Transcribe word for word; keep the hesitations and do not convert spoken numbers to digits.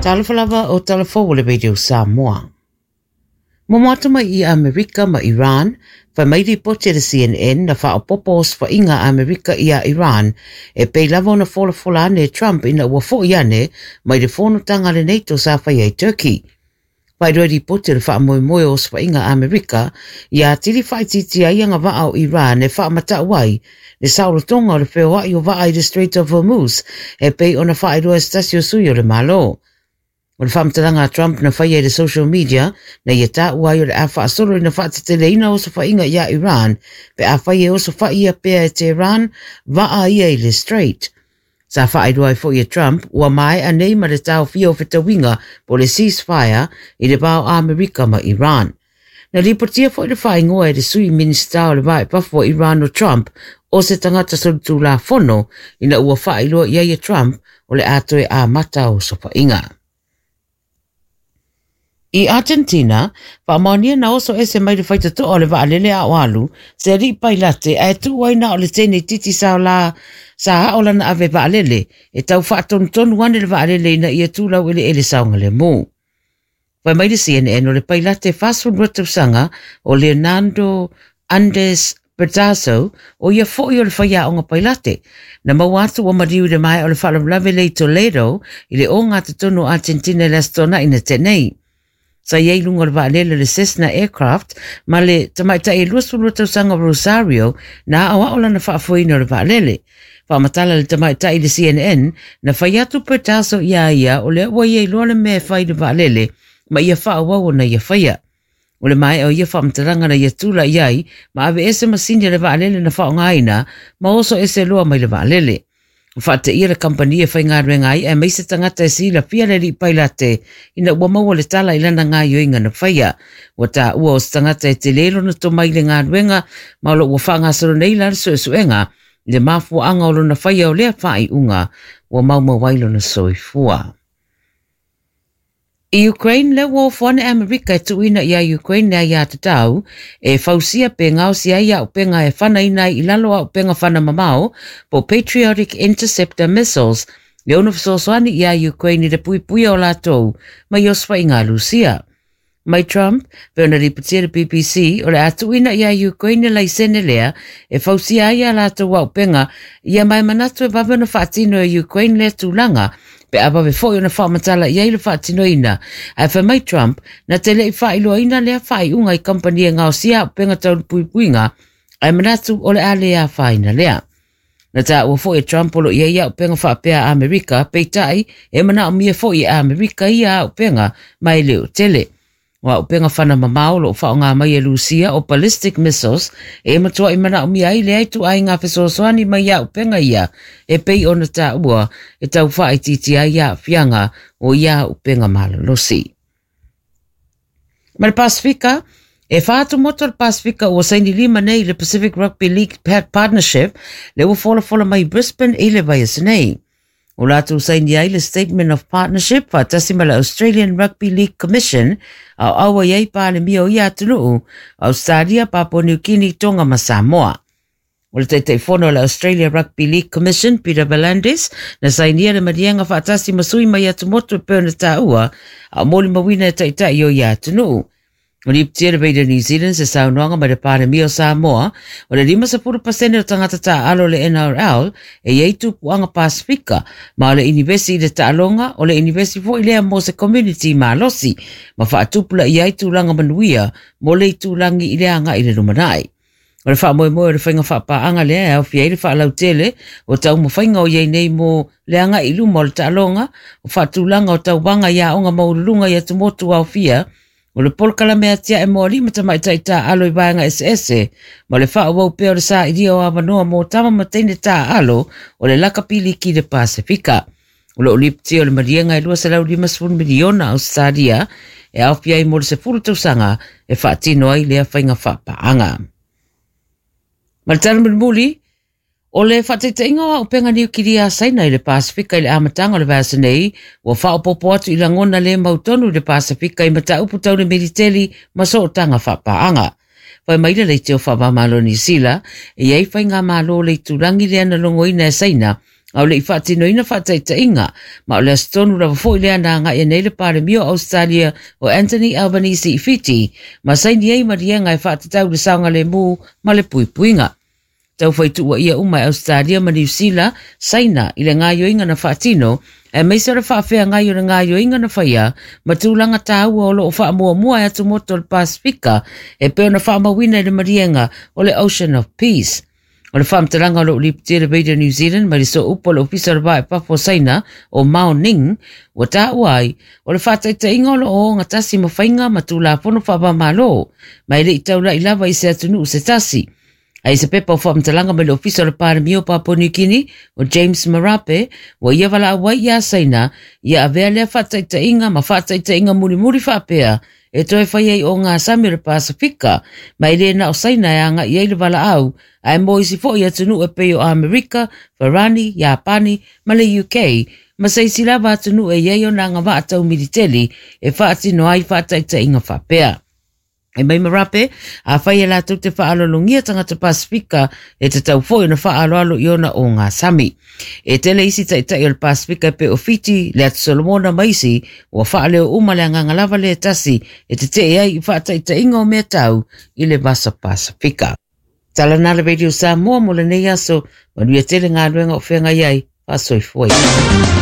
Talofa lava o talafou o le Radio Samoa. Momo atu mai i Amerika ma Iran, whai mai ripoti le C N N na whaopopo osofaiga a Amerika ia Iran, e pei lava ona folafola ane e Trump ina ua fo'i ane mai le fonotaga a le NATO sa faia i Turkey. Whairoa ripoti o le whaamoemoe o osofaiga a Amerika, ia atili whaititi ai anga vaa o Iran e whaamatau ai le saolotoga o le feoai o vaa i le Strait of Hormuz e pei ona whaeroa e se tasi o sui o le Malo. O le whaamatalaga a Trump na whaia i le social media na ia tāua ai o le a whaasolo ina whaateteleina osofaiga ia Iran pe a whai e osofaia pea e Tehran vaa ia i le Strait. Sa whaairoa ai foi e Trump ua maea nei ma le taofia o fetauiga po le ceasefire i le va o Amerika ma Iran. Na ripotia foi le whaingoa e le sui minista o le vae pafo o Iran o Trump o se tangata solitulafono ina ua whaailoa ia ia Trump o le atoe a mata o sofaiga. I Argentina, whaamaonia na oso ese mai le whaitatoa o le vaalele a o alu, se alii pailate ae tuu ai na o le tene titi sa la sa hao lana ave vaalele, e tau whaatonutonu ane le vaalele ina ia tūlau ele ele saonga le mō. Whai mai le C N N o le pailate whasefulu tausaga o Leonardo Andes Bertaso o ia foi o le whaiaonga pailate. Na maua atu ua mariu le mai o le whaalavlave le i Toledo i le o ngā totonu o Argentina le astona ina tenei. Sa iai lunga o le vaalele le Cessna Aircraft ma le tamaitai e luasefulu tausaga o Rosario na aoao lana faafoeina o le vaalele. Faamatala le tamaitai le C N N na fai atu Bertaso ia ia o lea ua ia iloa le mea e fai le vaalele ma ia faaauau ona ia faia. O le maea o ia faamatalaga na ia tula iai ma ave ese masini a le vaalele na faaaogaina ma oso ese loa mai le vaalele. Whaateia le kampani e whaingaruenga ai e maise tangata e silafia le alii pailate ina ua maua le tala i lana gaioiga na faia. Ua tāua o se tagata e tele lona tomai i le galuega ma o lo ua faagasolo nei la le suesuega i le mafuaaga o lona faia o lea faaiuga ua maumau ai lona soifua. I Ukraine, le ua ofo ane Amerika e tuuina ia Ukraine le aia tatau e fausia pe ngaosi ai aupenga e whanaina ai i lalo aupenga whana mamao po Patriotic Interceptor Missiles le ono fesoasoani ia Ukraine i le puipuia o latou mai osofaiga a Lusia. Mai Trump, pe ona ripotia le B B C, o le a tuuina ia Ukraine laisene lea e fausia ai a latou aupenga ia mai manatu e vave ona faatino e Ukraine lea tulaga pe a vave foi ona faamatala i ai le faatinoina. Ae fai mai Trump, na te lei faailoaina lea faaiuga i kampani e ngaosia aupenga tau le puipuiga, ae manatu o le a le afaina lea. Na tāua foi e Trump o lo i ai aupenga faapea a Amerika, peitai e manaomia foi e Amerika ia aupenga ma e le o tele. O aupenga whana mamao lo whaonga mai e Lusia o ballistic missiles e matua i manaomia ai le ai tu ai ngā fesoasoani mai aupenga ia e pei ona tāua e tau whaititi ai aafiaga o ia aupenga malolosi. Ma le Pasifika, e whaatu moto le Pasifika ua saini lima nei le Pacific Rugby League Partnership le ua folafola mai Brisbane i le vaiaso nei. O lātou saini ai le Statement of Partnership whaatasi ma le Australian Rugby League Commission au aua iai pālemia o ia atunuu, Australia, Papua New Guinea, Tonga ma Samoa. O le taitaifono o le Australia Rugby League Commission, Peter V'landys, na sainia le maliega whaatasi ma sui mai atumotu e pei ona tāua, a o molimauina e taitai o ia atunuu. O ripotia le Radio New Zealand se saunoaga mai le Palemia o Samoa, o le limasefulu pasene o tagata taaalo o le N R L e iai tupuaga Pasifika, ma o le inivesi i le taaloga, o le inivesi foi lea mo se community malosi, ma faatupulaia ai tulaga manuia mo le itulagi i le agai i le lumanai. O le faamoemoe o le faiga faapaaga lea e aofia ai le faalautele o taumafaiga o iai nei mo le agai i luma o le taaloga, o faatulaga o tauvaga i aoga maualuluga i atumotu aofia, o le polokalame atiae mo alii ma tamaitai taaalo i vaega eseese, ma le faaauau pea o le sailia o avanoa mo tama ma teine taaalo o le lakapi liki i le Pasifika. O loo lipotia o le maliega e luaselau limasefulu miliona Australia e aofia ai mo le sefulu tausaga e faatino ai lea faiga faapaaga. Ma le tala mulimuli, o le faataitaiga o aupenga niukilia a Saina i le Pasifika i le amataga o le vaiaso nei, ua faaopopo atu i lagona le mautonu i le Pasifika i mataupu tau le militeli ma sootaga faapaaga. Fai mai le leitio faavamalo Niu Sila, e iai faigamalo o le itulagi lea na logoina e Saina A o le i faatinoina faataitaiga, ma o le aso tonu lava foi lea na agai nei le Palemia o Australia o Anthony Albanese i Fiti ma saini ai maliega e faatatau le saogalemu ma le puipuiga. Taufai tuuaia uma e Australia ma Niu Sila Saina i le gaoioiga na faatino, aemaise o le faafeagai o le gaoioiga na faia ma tulaga taua o loo faamuamua e atumotu o le Pasifika e pei ona faamauina i le maliega o le Ocean of Peace. O le faamatalaga o loo lipotia le Radio New Zealand mai le sooupu o le Ofisa o le Va i Fafo o Saina o Mao Ning ua taua ai, o le faataitaiga o loo ogatasi ma faiga ma tulafono faava-o-Malo, ma e le i taulai lava i se atunuu se tasi. Ae se pepa o faamatalaga mai le Ofisa o le Palemia o Papua New Guinea o James Marape ua ia valaau ai iā Saina ia avea lea faataitaiga ma faataitaiga mulimuli faapea e toe fai ai o ngā sami o le Pasifika, ma e le na o Saina e agai ai le valaau, ae mo isi foi atunuu e pei o Amerika, Farani, Iapani ma le U K, ma se isi lava atunuu e i ai ona agavaa tau militeli e faatino ai faataitaiga faapea. E mai Marape, afai e latou te faalologia tagata Pasifika e tatau foi ona faaaloalo i ona o ngā sami. E tele isi taitai o le Pasifika e pei o Fiti, le Atu Solomona ma isi, ua faaleo uma le agaga lava le tasi e tetee ai i faataitaiga o mea tau i le Vasa Pasifika. Tala na le Radio Samoa mo lenei aso, manuia tele galuega o feagai ai, faasoifua.